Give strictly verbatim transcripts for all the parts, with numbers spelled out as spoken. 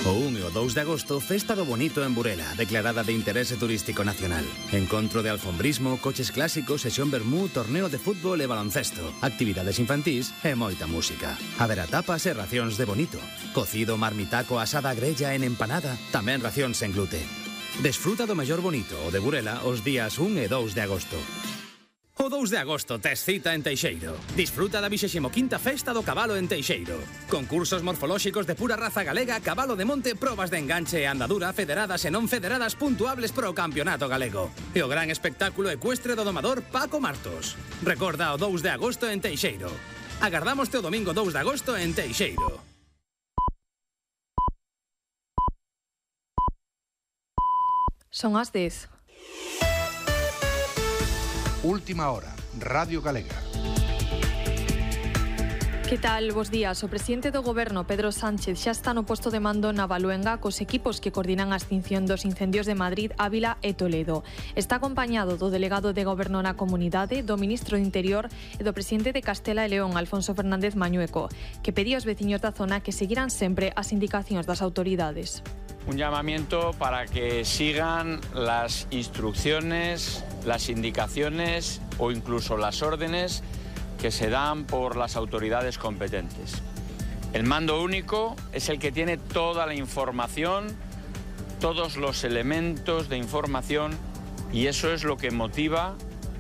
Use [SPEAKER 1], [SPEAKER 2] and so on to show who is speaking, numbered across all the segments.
[SPEAKER 1] O un e o dous de agosto, Festa do Bonito en Burela, declarada de interese turístico nacional. Encontro de alfombrismo, coches clásicos, sesión vermú, torneo de fútbol e baloncesto, actividades infantís e moita música. Haberá tapas e racións de bonito. Cocido, marmitaco, asada grella en empanada, tamén racións en glute. Desfruta do mellor bonito o de Burela os días un e dous de agosto. O dous de agosto tes cita en Teixeiro. Disfruta da vixésima quinta Festa do Cabalo en Teixeiro. Concursos morfolóxicos de pura raza galega, cabalo de monte, probas de enganche e andadura federadas e non federadas puntuables pro campeonato galego. E o gran espectáculo ecuestre do domador Paco Martos. Recorda o dous de agosto en Teixeiro. Agardámoste o domingo dous de agosto en Teixeiro.
[SPEAKER 2] Son as dez.
[SPEAKER 3] Última hora, Radio Galega.
[SPEAKER 2] Que tal? Bos días. O presidente do Goberno, Pedro Sánchez, xa está no posto de mando na Valuenga cos equipos que coordinan a extinción dos incendios de Madrid, Ávila e Toledo. Está acompañado do delegado de Goberno na comunidade, do ministro do Interior e do presidente de Castela e León, Alfonso Fernández Mañueco, que pedía aos veciños da zona que seguiran sempre as indicacións das autoridades.
[SPEAKER 4] Un llamamiento para que sigan las instrucciones, las indicaciones o incluso las órdenes que se dan por las autoridades competentes. El mando único es el que tiene toda la información, todos los elementos de información, y eso es lo que motiva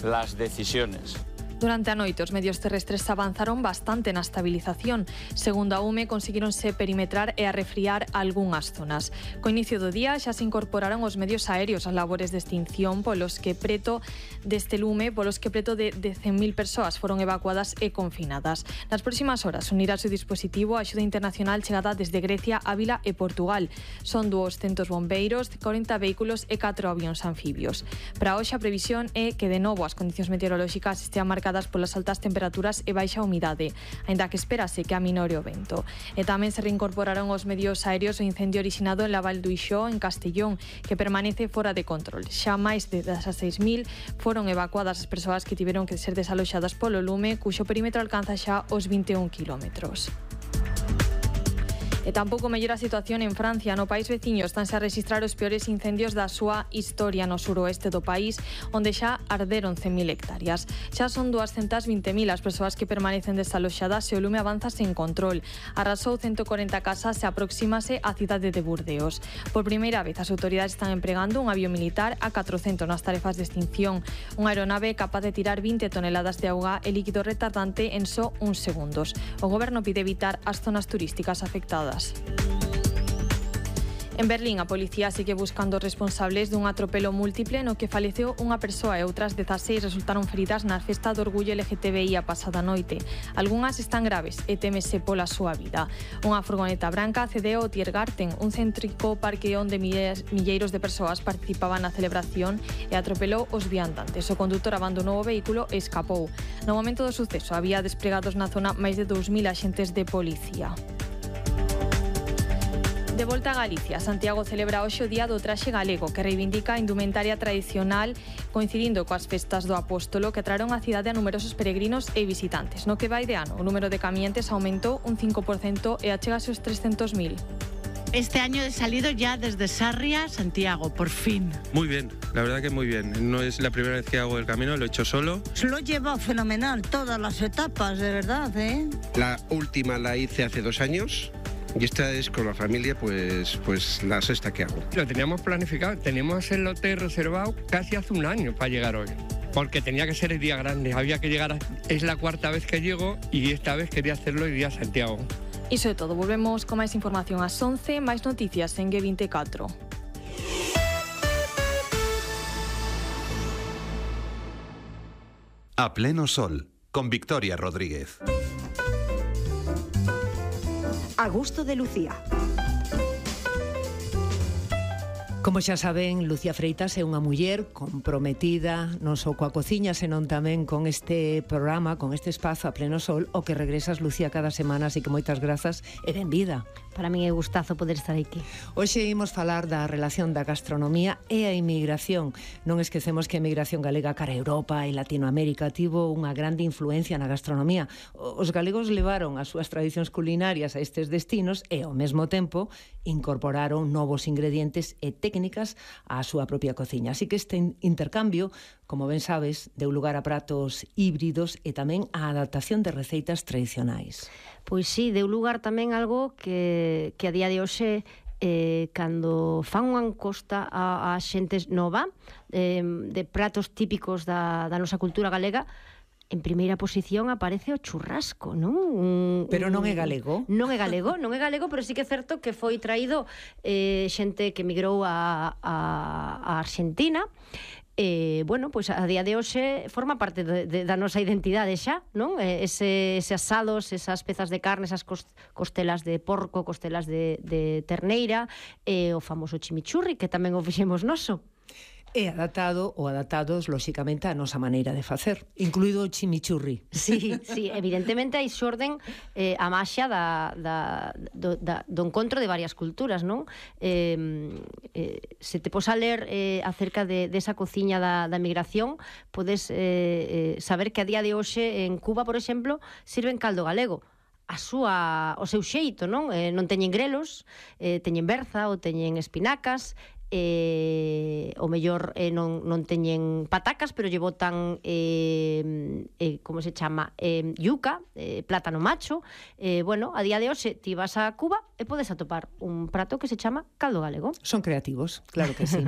[SPEAKER 4] las decisiones.
[SPEAKER 2] Durante a noite, os medios terrestres avanzaron bastante na estabilización. Segundo a U M E, conseguironse perimetrar e arrefriar algunhas zonas. Co inicio do día xa se incorporaron os medios aéreos ás labores de extinción polos que preto deste lume, polos que preto de, de cen mil persoas foron evacuadas e confinadas. Nas próximas horas unirá o seu dispositivo a axuda internacional chegada desde Grecia, Ávila e Portugal. Son duocentos bombeiros, corenta vehículos e catro avións anfibios. Para hoxe a previsión é que de novo as condicións meteorolóxicas estean marcadas polas altas temperaturas e baixa humidade, aínda que espérase que aminore o vento. E tamén se reincorporaron os medios aéreos o incendio orixinado en la Val do Ixó, en Castellón, que permanece fora de control. Xa máis de dezaseis mil foron evacuadas as persoas que tiveron que ser desaloxadas polo lume, cuxo perímetro alcanza xa os vinte e un quilómetros. E tampouco mellora a situación en Francia. No país veciño estánse a registrar os peores incendios da súa historia no suroeste do país, onde xa arderon cen mil hectáreas. Xa son duascentas vinte mil as persoas que permanecen desaloxadas e o lume avanza sen control. Arrasou ciento corenta casas e aproxímase á cidade de Burdeos. Por primeira vez as autoridades están empregando un avión militar a catrocentos nas tarefas de extinción. Unha aeronave capaz de tirar vinte toneladas de auga e líquido retardante en só uns segundos. O goberno pide evitar as zonas turísticas afectadas. En Berlín, a policía sigue buscando responsables dun atropelo múltiple no que faleceu unha persoa e outras dezaseis resultaron feridas na festa do orgullo L G T B I a pasada noite. Algunhas están graves e témese pola súa vida. Unha furgoneta branca accedeu ao Tiergarten, un céntrico parque onde milleiros de persoas participaban na celebración, e atropelou os viandantes. O condutor abandonou o vehículo e escapou. No momento do suceso había despregados na zona máis de dous mil axentes de policía. De volta a Galicia, Santiago celebra hoxe o Día do Traxe Galego, que reivindica a indumentaria tradicional coincidindo coas festas do Apóstolo, que traeron á cidade a numerosos peregrinos e visitantes. No que vai de ano, o número de camientes aumentou un cinco por cento e achégase aos trescentos mil.
[SPEAKER 5] Este año he salido ya desde Sarria, Santiago, por fin.
[SPEAKER 6] Muy bien, la verdad que muy bien. No es la primera vez que hago el camino, lo he hecho solo.
[SPEAKER 7] Lo he llevado fenomenal, todas las etapas, de verdad, ¿eh?
[SPEAKER 8] La última la hice hace dos años. Y esta es con la familia, pues, pues la sexta que hago.
[SPEAKER 9] Lo teníamos planificado, teníamos el hotel reservado casi hace un año para llegar hoy. Porque tenía que ser el día grande, había que llegar, a, es la cuarta vez que llego y esta vez quería hacerlo el día Santiago.
[SPEAKER 2] Iso é todo, volvemos con máis información ás once, máis noticias en G veinticuatro.
[SPEAKER 10] A pleno sol, con Victoria Rodríguez.
[SPEAKER 11] A gusto de Lucía.
[SPEAKER 12] Como xa saben, Lucía Freitas é unha muller comprometida non só coa cociña, senón tamén con este programa, con este espazo A Pleno Sol, o que regresas, Lucía, cada semana, así que moitas grazas e benvida.
[SPEAKER 13] Para mí é gustazo poder estar aquí.
[SPEAKER 12] Hoxe imos falar da relación da gastronomía e a inmigración. Non esquecemos que a inmigración galega cara a Europa e Latinoamérica tivo unha grande influencia na gastronomía. Os galegos levaron as súas tradicións culinarias a estes destinos e, ao mesmo tempo, incorporaron novos ingredientes e técnicas á súa propia cociña. Así que este intercambio, como ben sabes, deu lugar a pratos híbridos e tamén a adaptación de receitas tradicionais.
[SPEAKER 13] Pois sí, deu lugar tamén algo que, que a día de hoxe eh, cando fan unha encosta a, a xente nova eh, de pratos típicos da, da nosa cultura galega, en primeira posición aparece o churrasco, non? Un,
[SPEAKER 12] pero non é galego.
[SPEAKER 13] Non é galego, non é galego, pero sí que é certo que foi traído eh, xente que migrou a, a, a Argentina. Eh, bueno, pois a día de hoxe forma parte de, de, da nosa identidade xa, non? Ese, ese asados, esas pezas de carne, esas costelas de porco, costelas de, de terneira, e o famoso chimichurri, que tamén o fixemos noso.
[SPEAKER 12] É adaptado ou adaptados, lóxicamente, a nosa maneira de facer, incluído o chimichurri.
[SPEAKER 13] Sí, sí, evidentemente aí xorden eh, a maxia da, da, do, da, do encontro de varias culturas, non? Eh, eh, se te pos a ler eh, acerca de, de esa cociña da, da migración, podes eh, eh, saber que a día de hoxe en Cuba, por exemplo, sirven caldo galego. A súa, o seu xeito, non? Eh, non teñen grelos, eh, teñen berza ou teñen espinacas, eh, o mellor eh, non, non teñen patacas, pero lle botan eh, eh, como se chama eh, yuca, eh, plátano macho. Eh, bueno, a día de hoxe ti vas a Cuba e podes atopar un prato que se chama caldo galego.
[SPEAKER 12] Son creativos, claro que sí.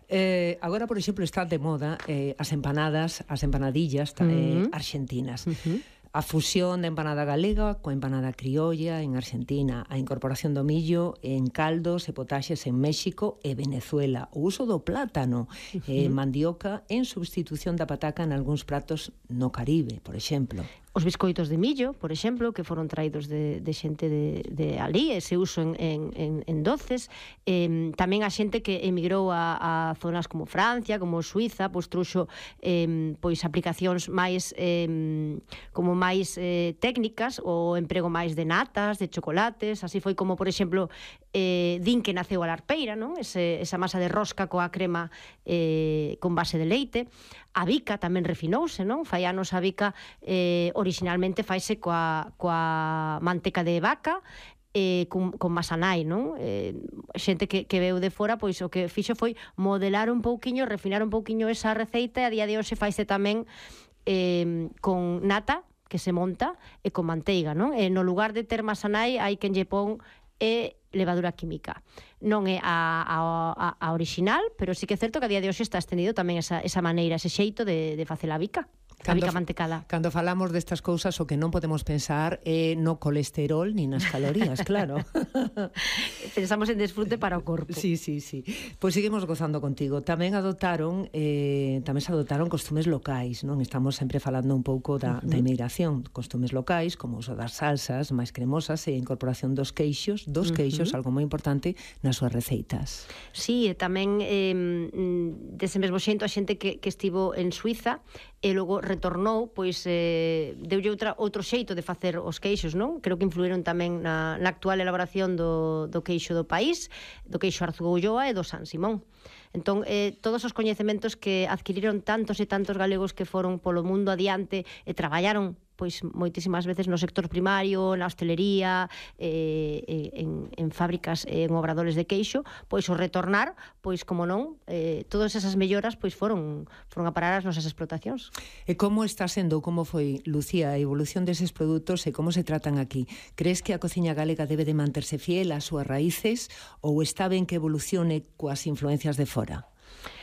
[SPEAKER 12] eh, agora, por exemplo, está de moda eh, as empanadas, as empanadillas eh, uh-huh. argentinas. Uh-huh. A fusión da empanada galega coa empanada criolla en Argentina, a incorporación do millo en caldos e potaxes en México e Venezuela, o uso do plátano e uh-huh. mandioca en substitución da pataca en algúns pratos no Caribe, por exemplo.
[SPEAKER 13] Os biscoitos de millo, por exemplo, que foron traídos de, de xente de, de alí, ese uso en, en, en, en doces. Eh, tamén a xente que emigrou a, a zonas como Francia, como Suiza, pois truxo eh, pois aplicacións máis eh, como máis eh, técnicas, o emprego máis de natas, de chocolates. Así foi como, por exemplo, eh, din que naceu a larpeira, non? Ese, esa masa de rosca coa crema eh, con base de leite. A bica tamén refinouse, non? Fai anos a bica eh, originalmente faise coa, coa manteca de vaca eh, con, con masanai, non? Eh, xente que, que veu de fora, pois o que fixo foi modelar un pouquiño, refinar un pouquiño esa receita, e a día de hoxe faise tamén eh, con nata, que se monta, e con manteiga, non? E no lugar de ter masanai hai quen lle pon e levadura química. Non é a, a, a original, pero sí que é certo que a día de hoxe está estendido tamén esa, esa maneira, ese xeito de, de facer a bica. A bica mantecada.
[SPEAKER 12] Cando falamos destas cousas, o que non podemos pensar é no colesterol ni nas calorías, claro.
[SPEAKER 13] Pensamos en desfrute para o corpo.
[SPEAKER 12] Sí, sí, sí. Pois seguimos gozando contigo. Tamén adoptaron eh, tamén se adoptaron costumes locais, non? Estamos sempre falando un pouco da, uh-huh. da inmigración. Costumes locais, como o uso das salsas máis cremosas e a incorporación dos queixos, dos uh-huh. queixos, algo moi importante, nas súas receitas.
[SPEAKER 13] Sí, e tamén eh, dese mesmo xento a xente que, que estivo en Suiza e logo retornou, pois eh, deulle outra, outro xeito de facer os queixos, non? Creo que influíron tamén na, na actual elaboración do, do queixo do país, do queixo Arzúa e do San Simón. Entón, eh, todos os coñecementos que adquiriron tantos e tantos galegos que foron polo mundo adiante e traballaron pois moitísimas veces no sector primario, na hostelería, eh, en, en fábricas, en obradores de queixo, pois o retornar, pois como non, eh, todas esas melloras pois foron foron a parar as nosas explotacións.
[SPEAKER 12] E como está sendo, como foi, Lucía, a evolución deses produtos e como se tratan aquí? Crees que a cociña galega debe de manterse fiel ás súas raíces ou está ben que evolucione coas influencias de fora?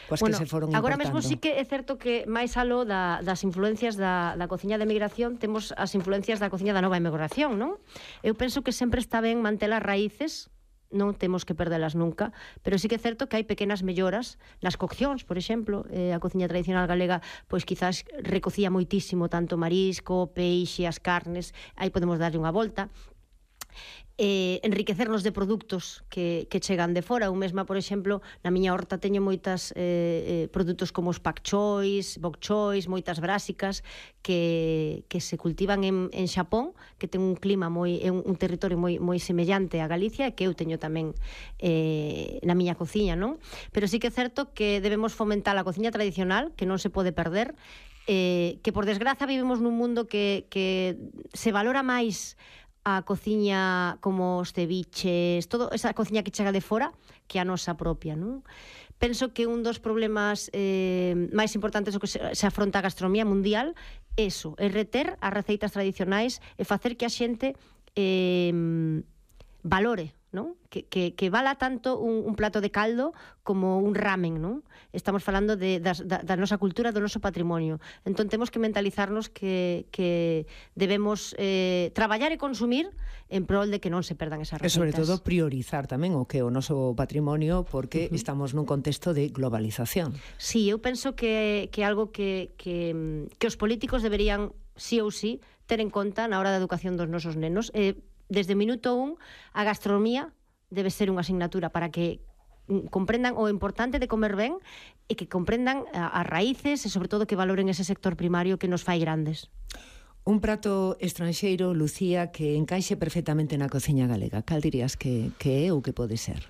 [SPEAKER 12] Coas
[SPEAKER 13] bueno,
[SPEAKER 12] que se foron
[SPEAKER 13] agora
[SPEAKER 12] importando.
[SPEAKER 13] mesmo sí que é certo que máis aló da, das influencias da, da cociña de emigración temos as influencias da cociña da nova emigración, non? Eu penso que sempre está ben manter as raíces, non temos que perdelas nunca, pero sí que é certo que hai pequenas melloras nas coccións, por exemplo, eh, a cociña tradicional galega pois quizás recocía moitísimo tanto marisco, peixe, as carnes, aí podemos darlle unha volta. eh, enriquecernos de produtos que, que chegan de fora. Eu mesma, por exemplo, na miña horta teño moitas eh, eh, produtos como os pak chois, bok chois, moitas brásicas que, que se cultivan en, en Xapón, que ten un clima moi, un, un territorio moi, moi semellante a Galicia, e que eu teño tamén eh, na miña cociña, non? Pero sí que é certo que debemos fomentar a cociña tradicional, que non se pode perder, eh, que por desgraza vivimos nun mundo que, que se valora máis a cociña como os ceviches, todo esa cociña que chega de fora, que a nosa propia, non? Penso que un dos problemas eh, máis importantes o que se, se afronta a gastronomía mundial é eso, é reter as receitas tradicionais e facer que a xente eh, valore, non? Que, que, que vala tanto un, un plato de caldo como un ramen, non? Estamos falando de, da, da nosa cultura, do noso patrimonio. Entón temos que mentalizarnos que, que debemos eh, traballar e consumir en prol de que non se perdan esas receitas.
[SPEAKER 12] E sobre todo priorizar tamén o que é o noso patrimonio, porque uh -huh. estamos nun contexto de globalización.
[SPEAKER 13] Sí, eu penso que, que algo que, que, que os políticos deberían, sí ou sí, ter en conta na hora da educación dos nosos nenos. Eh, desde o minuto un, a gastronomía debe ser unha asignatura para que comprendan o importante de comer ben e que comprendan as raíces e, sobre todo, que valoren ese sector primario que nos fai grandes.
[SPEAKER 12] Un prato estranxeiro, Lucía, que encaixe perfectamente na cociña galega. Cal dirías que, que é ou que pode ser?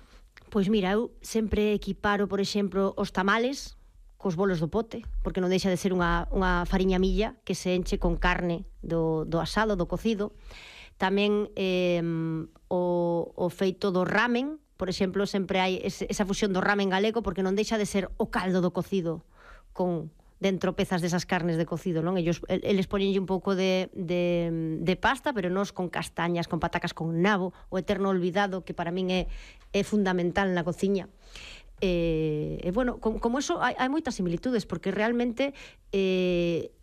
[SPEAKER 13] Pois mira, eu sempre equiparo, por exemplo, os tamales cos bolos do pote, porque non deixa de ser unha, unha fariña milla que se enche con carne do, do asado, do cocido. Tamén eh, o, o feito do ramen, por exemplo, sempre hai esa fusión do ramen galego, porque non deixa de ser o caldo do cocido con dentro pezas desas carnes de cocido, non? Ellos, eles poñenlle un pouco de, de, de pasta, pero nos con castañas, con patacas con nabo, o eterno olvidado, que para min é, é fundamental na cociña. E, eh, bueno, com, como eso hai, hai moitas similitudes, porque realmente eh,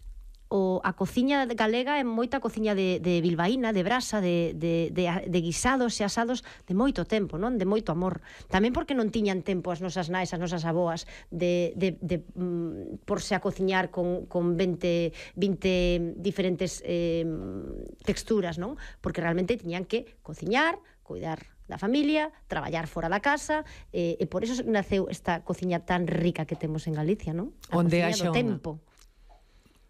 [SPEAKER 13] o, a cociña galega é moita cociña de, de bilbaína, de brasa, de, de, de, de guisados e asados de moito tempo, non? De moito amor. Tamén porque non tiñan tempo as nosas nais, as nosas aboas de, de, de mm, porse a cociñar con, con veinte, vinte diferentes eh, texturas, non? Porque realmente tiñan que cociñar, cuidar da familia, traballar fora da casa, e, e por eso naceu esta cociña tan rica que temos en Galicia, non? A
[SPEAKER 12] Onde
[SPEAKER 13] cociña do tempo.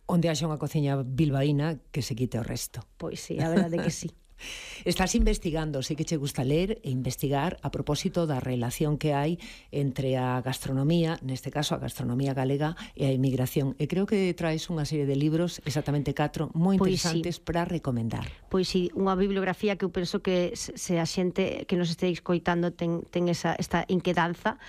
[SPEAKER 12] Onde haxa unha cociña bilbaína que se quite o resto.
[SPEAKER 13] Pois sí, a verdade que sí.
[SPEAKER 12] Estás investigando, sei que che gusta ler e investigar a propósito da relación que hai entre a gastronomía, neste caso a gastronomía galega, e a emigración. E creo que traes unha serie de libros, exactamente catro, moi interesantes para recomendar.
[SPEAKER 13] Pois sí, unha bibliografía que eu penso que se a xente que nos este escoitando ten, ten esa, esta inquedanza,